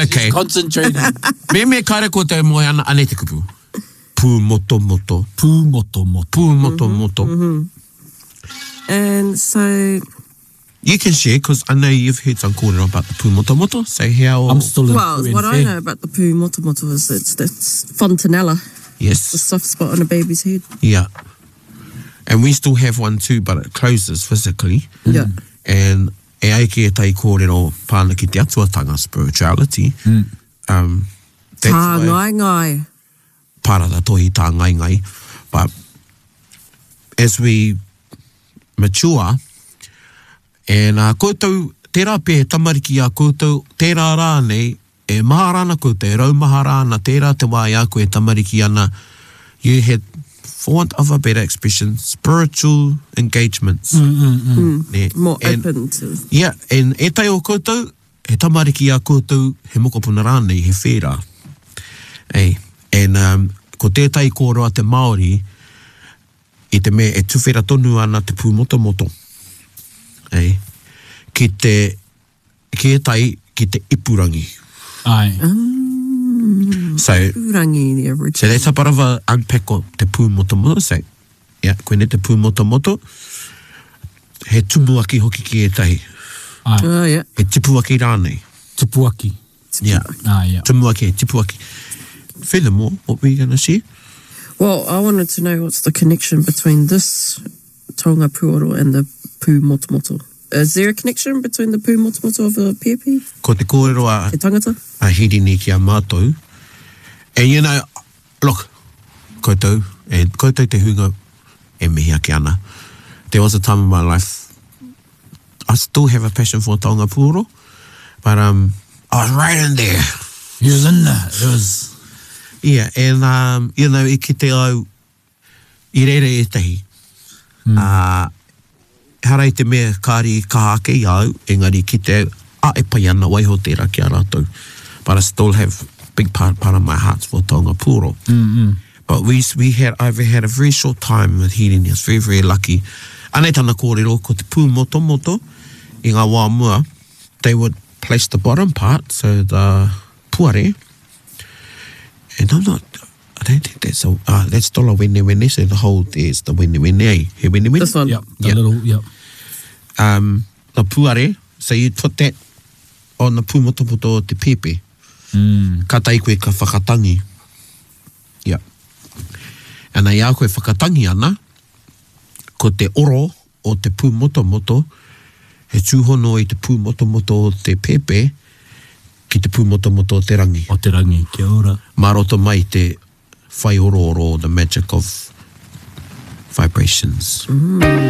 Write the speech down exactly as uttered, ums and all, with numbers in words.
Okay. Concentrating. Me me kare koutou e moe ana, anei te kupu. Pūmotomoto. Pūmotomoto. Pūmotomoto. And so, You can share, because I know you've heard some kōrero about the pūmotomoto, so how... I'm still in well, two what I and know about the pūmotomoto is it's that's fontanella, the Yes. soft spot on a baby's head. Yeah. And we still have one too, but it closes physically. Yeah. And e ai ki ētahi kōrero pāna ki te atuatanga, spirituality. Um, that's Tā why ngai ngai. parara tohi tā ngai ngai. But as we mature, and uh, koutou, tērā pē he tamariki a koutou, tērā rānei, e mahara ana koutou, e raumahara ana, tērā te wā i a koe e tamariki ana, you had, for want of a better expression, spiritual engagements. Mm, mm, mm. Ne? More And- open to. Yeah, and ētahi o koutou, he tamariki a koutou, he mokopuna rānei, he whērā. Ei, and um, ko tētahi kōrero a te Māori, i te mea e tuwhera tonu ana te pūmotomoto. Ei, ki te, ki ētahi, ki te ipurangi. Ai. So, Pūrangi, the so original. that's a bit of a unpack o te pūmotomoto. So, yeah, koinei te pūmotomoto, he tumuaki hoki ki ētahi. Ai. Oh, yeah. He tipuaki rānei. Tupuaki. Yeah. Ah, yeah. Tumuaki, tipuaki. Furthermore, what were you going to share? Well, I wanted to know what's the connection between this taonga puoro and the pūmotomoto. Is there a connection between the pūmotomoto of the pēpi, Ko te kōrero a, te tangata? a Hirini ki a mātou. And you know, look, koutou, and koutou te hunga e mihi ake ana. There was a time in my life, I still have a passion for taonga puoro, but um, I was right in there. He was in there. It was... Yeah, and um, you know, i kite au, i reira ētahi. Mm. Uh, hara i te mea kāri i kaha ake i au, engari ki te au, a e pai ana waiho tērā ki a rātou. But I still have big part, part of my heart for taonga puoro. Mm -hmm. But we, we had, I've had a very short time with Hirini. I was very, very lucky. Anei tana kōrero, ko te pūmotomoto i ngā wā mua, they would place the bottom part, so the puare, and I'm not, I don't think that's a, uh, that's still a wene wene, so the whole there's the wene wene, eh? He wene wene. This one. Yep. The Yep. little... Yep. Um, the puare, so you put that on the pūmotomoto o te pēpē. Mm. Ka tai koe ka whakatangi. Yeah. And ai a koe whakatangi ana, ko te oro o te pūmotomoto, he tūhono i te pūmotomoto o te pēpē ki te pūmotomoto o te rangi. O te rangi. Kia ora. Mā roto mai te whai orooro, the magic of vibrations.